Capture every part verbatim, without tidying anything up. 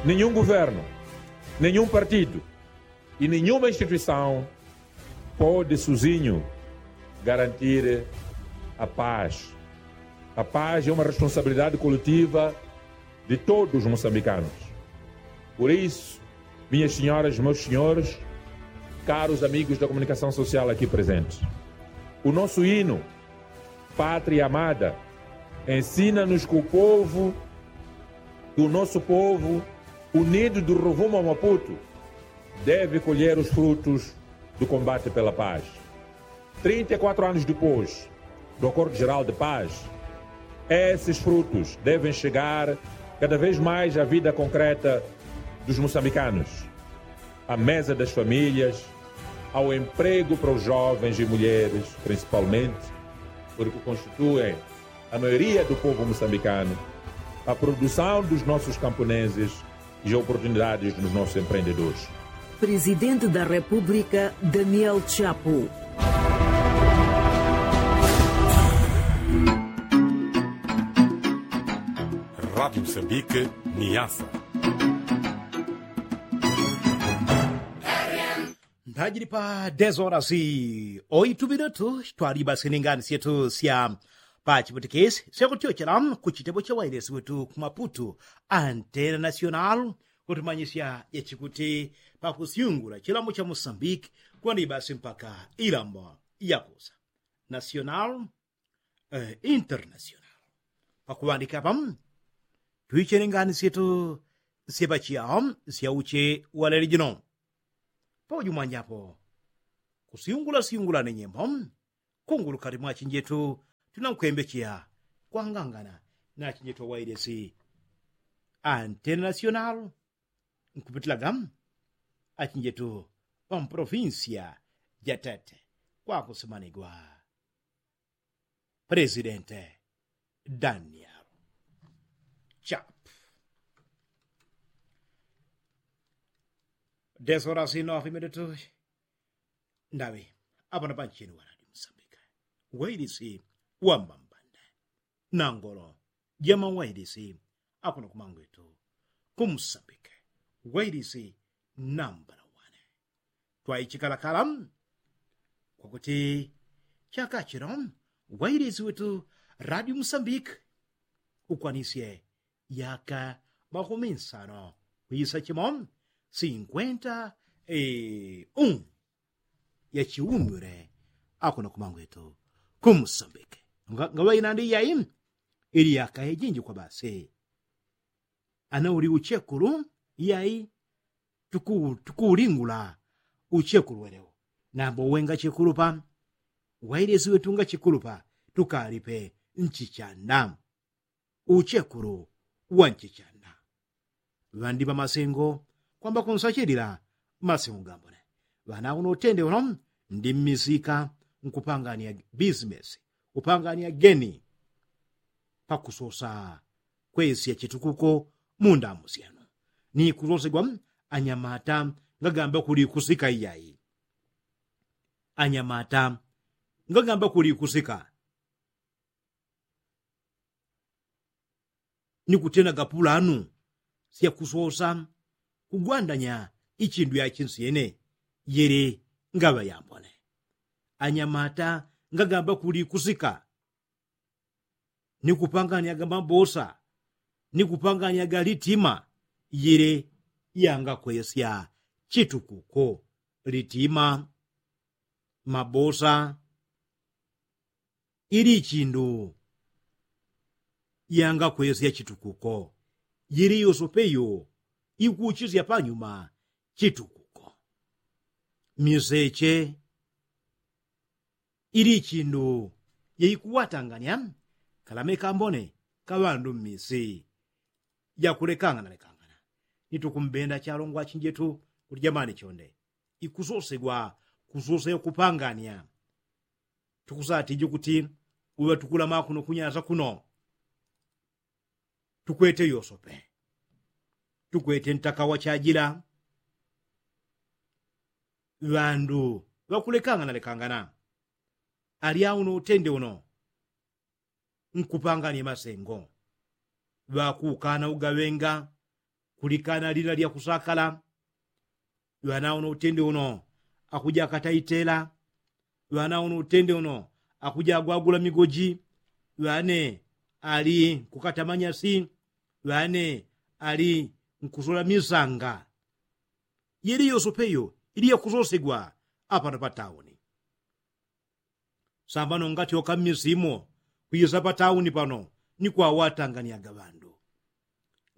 Nenhum governo, nenhum partido e nenhuma instituição pode sozinho garantir a paz. A paz é uma responsabilidade coletiva de todos os moçambicanos. Por isso, minhas senhoras, meus senhores, caros amigos da comunicação social aqui presentes, o nosso hino, Pátria Amada, ensina-nos que o povo, que o nosso povo unido do Rovuma ao Maputo deve colher os frutos do combate pela paz. Trinta e quatro anos depois do Acordo Geral de Paz, esses frutos devem chegar cada vez mais à vida concreta dos moçambicanos, à mesa das famílias, ao emprego para os jovens e mulheres, principalmente, porque constituem a maioria do povo moçambicano, à produção dos nossos camponeses e oportunidades dos nossos empreendedores. Presidente da República, Daniel Chapo. Rádio Moçambique, Niassa. Ndajili pa dez horas oito minutos, twaliba sininganisyetu sya pa chiputikisi syakutyochela ku chitebo cha wailesi wetu ku Maputo, Antena Nacional, kutumanyisya yachikuti pakusyungula chilambo cha Mosambiki kwani basi mpaka ilambo yakusa nacional, eh, internacional. Pakuŵandika apa twichelenganisyetu syepachiao sya uche wa leli jino. Paujumwanjapo kusyungula syungula ni nyimbo kungulukati mwa achinjetu tunankwembecheya kwangangana na achinjetu awailesi Antena Nacional nkupitilaga achinjetu ŵa mpolofinsiya ja Tete kwakusimanigwa Presidente Daniel Chapo. Dez horas y nueve minutos. Ndaŵi apano panchini wa Radio Mosambike, wailisi wambambande, nangolo jamawailisi akuno kumangwetu ku Mosambike, wailisi nambala wane. Twaichikalakala kwakuti chaka chino wailisi wetu Radio Mosambike ukwanisye yaka makumi nsano kwisa chimo, sinkwenta e un yachiumile akuno kumangwetu ku Mosambike. Ngaŵainandi yai ili yaka yajinji kwa basi. Ana uli uchekulu yai tukuulingula uchekulu weleu. Nambo uwe ngachekulupa, wailesi wetu ngachekulupa, tukalipe nchichanda. Uchekulu wa nchichanda. Ŵandi ŵa masengo kwamba kunsachilila masengo gambone. Ŵana uno utende uno ndi mmisika nkupangania bisimesi, kupangania geni pakusosa kwesya chitukuko mundamu syanu ni kusosegwa anyamata ngagamba kuli kusika iyai. Anyamata ngagamba kuli kusika ni kutena gapulanu sya kusosa kugwandanya ichindu yachinsyene yele ngaŵa yambone. Anyamata ngagamba kuli kusika ni kupanganyaga mabosa ni kupanganyaga litima yele yangakwesya chitukuko. Litima, mabosa ili ichindu yangakwesya chitukuko. Yili yosope yo ikuchisya panyuma chitukuko. Miseche ili ichindu yeikuwatanganya kalame kambone kaŵandu mmisi jakulekangana lekangana. Nitukumbenda chalongwa achinjetu kuti jamani chonde ikusosegwa kusosegwa kupangania. Tukusatije kuti uŵa tukulama kuno kunyasa kuno tukwete yosope, tukwete ntaka wachajila. Ŵandu ŵakulekangana lekangana alyauno utende uno nkupangania masengo ŵakukana ugaŵenga Kulikana lila lya kusakala. Ŵana uno utende uno akuja akataitela. Ŵana uno utende uno akuja agwagula migoji. Ŵane ali nkukata manyasi. Ŵane ali nkusola misanga. Yeli yosopeyo ili yakusosegwa apano pa tauni. Sambano ngatyoka mmisimo kwisa pa tauni pano ni kwawatanganyaga ŵandu.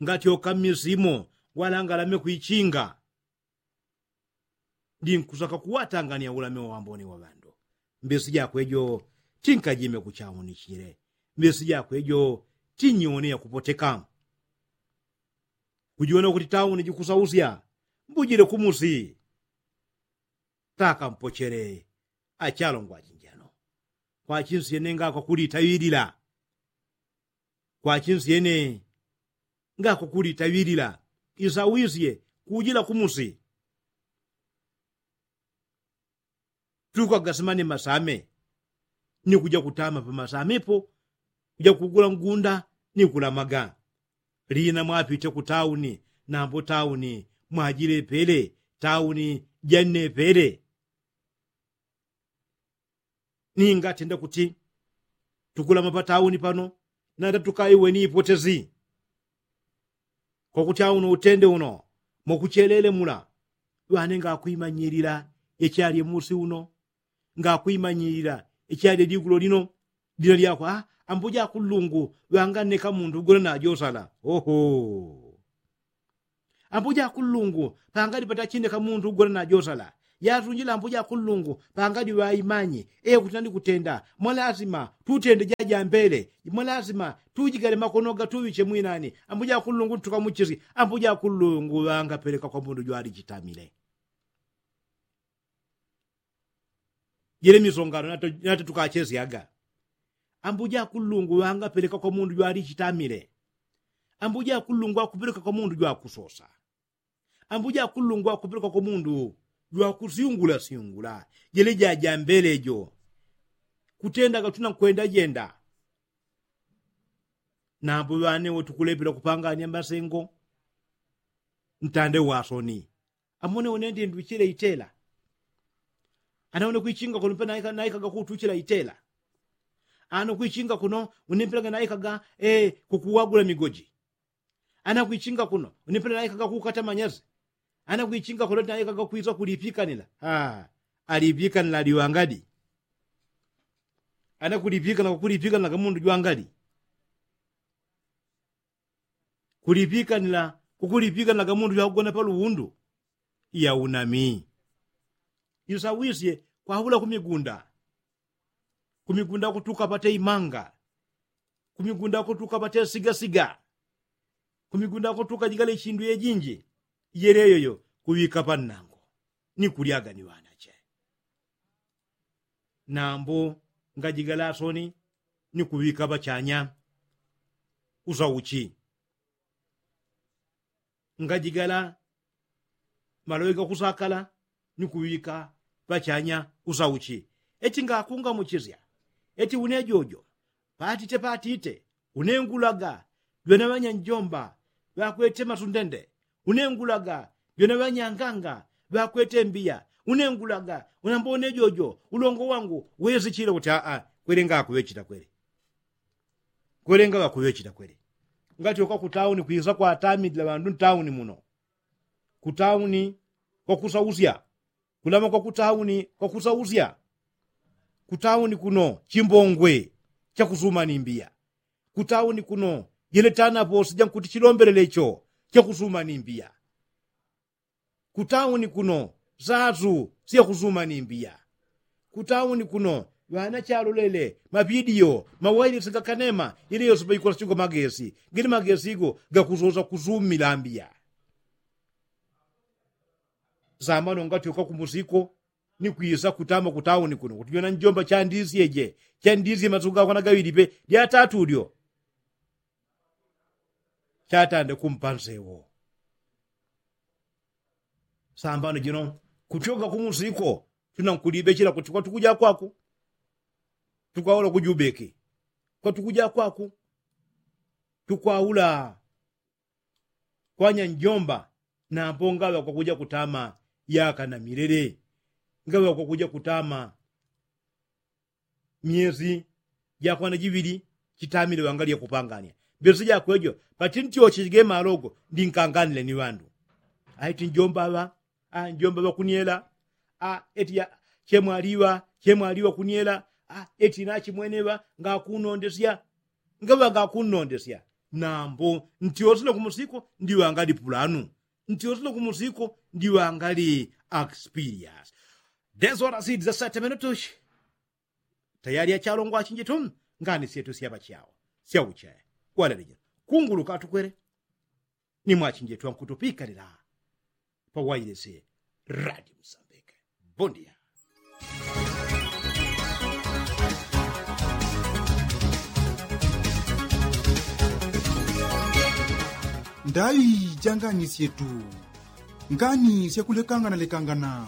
Ngatyoka mmisimo ngwalanga lame kwichinga. Ndi nkusaka kuwatangania ulame wa wambone wa ŵandu. Mbesi jakwe jo tinkajime kuchaunichile. Mbesi jakwe jo tinyone yakupoteka. Kujiwona kuti tauni jikusausya mbujile kumusi. Takampochele achalongwa achinjano. Kwachinsyene ngakwakulitaŵilila. Kwachinsyene ngakwakulitaŵilila. Isawisye kujila kumusi. Tukaga simane masame ni kuja kutama pa masame po. Kuja kugula ngunda ni kulamaga. Lina mwapite ku tauni nambo tauni mwajilepele. Tauni janepele. Ningatenda kuti tukulama pa tauni pano nanda tukaiwe ni ipotezi. Kwakuti auno utende uno mokuchelele mula ŵane ngakwimanyilila ichalye musi uno. Ngakwimanyilila ichalye ligulo lino. Lina lyakwa ambuja kullungu ŵanganneka mundu gona najosala. Oho. Ambuja kullungu pangali patachineka mundu gona najosala. Yasunjila ambuja kullungu pangali ŵaimanyi. Ekuti nani kutenda mwalasima tutende jajambele. Mwalasima tujigale makono gatuŵiche mwinani. Ambuja kullungu tukamuchisi ambuja kullungu ŵangapeleka kwa mundu jwalichitamile. Jele misongano nate tukachesyaga. Ambuja kullungu ŵangapeleka kwa mundu jwalichitamile. Ambuja kullungu akupeleka kwa mundu jwakusosa. Ambuja kullungu akupeleka kwa mundu jwakusyungula syungula. Jele jajambele jo kutendaga tuna nkwenda jenda. Nambo ŵane wotukulepela kupangania masengo. Ntande wasoni amone unende nduchile itela. Ana une kwichinga kuno mpe naikaga kutuchila itela. Ana kwichinga kuno une mpelaga naikaga kukuwagula migoji. Ana kwichinga kuno une mpela naikaga kukata manyazi. Ana kwichinga kuno naikaga kwisa kulipikanila. Alipikanila aliwangadi. Ana kulipikanila kukulipikanila kamundu jwangali. Kulipikanila kukulipikanila kamundu jwakugona paluwundu. Iya unami. Isawisye kwahula kumigunda. Kumigunda kutuka pate imanga. Kumigunda kutuka pate sigasiga. Kumigunda kutuka jigale chindu yejinji. Yeleyoyo kuŵika pannango ni kulyaga ni ŵanache. Nambo ngajigala asoni ni kuŵika ŵachanya. Usauchi ngajigala maloŵe gakusakala ni kuŵika ŵachanya. Usauchi eti ngakungamuchisya eti une jojo patite patite. Unengulaga jwena ŵanyanjomba ŵakwete masundende. Unengulaga jwena ŵanyanganga ŵakwete mbiya. Unengulaga unambone jojo ulongo wangu wesichile kuti aa kwele ngakuŵechita kwele. Kwele ngaŵakuŵechita kwele. Ngatyoka kutauni kwisa kwatamilila ŵandu ntauni muno. Kutauni kwakusausya. Kulama kwakutauni kwakusausya. Kutauni kuno chimbongwe chakusuma ni mbiya. Kutauni kuno jele tanaposi jankuti chilombelele cho chakusuma ni mbiya. Kutauni kuno sasu syakusuma ni mbiya. Kutauni kuno ŵana chalolele mavidiyo mawailisi gakanema. Ili yose paikola siko magesi gili magesi go gakusosa kusumila mbiya. Sambano ngatyoka kumusiko ni kwisa kutama kutauni kuno kuti jona njomba chandisyeje. Chandisye masuku gakwana gaŵili pe lyatatu lyo. Chatande kumpa nsewo. Sambano jino kutyoka kumusiko tuna nkulibechela kuti kwatukuja kwaku. Tukwaula kujubeki kwatukuja kwaku. Tukwaula kwanya njomba nambo ngaŵa kwakuja kutama yaka na milele ngaŵa kwakuja kutama myesi jakwana jiŵili chitamile ŵangali yakupanganya mbesi jakwejo pati ntyoche jige malogo ndinkanganile ni ŵandu. Aiti njomba ŵa njomba ŵakuniela eti chemwaliŵa chemwaliŵa kuniela eti nachimwene ŵa ngakunondesya ngaŵa ngakunondesya nambo ntyosile kumusiko ndiŵangali pulanu ntyosile kumusiko ndiŵangali akspilias. Desola sidi za sete minutushi tayali achalongwa achinjitu ngani syetu syaŵa chawo syauche walelejela kunguluka atukwele ni mwachinjitu ankutupikalila pawailese radi musambike. Bondia. Ndaŵi ja ngani syetu ngani syakulekangana lekangana.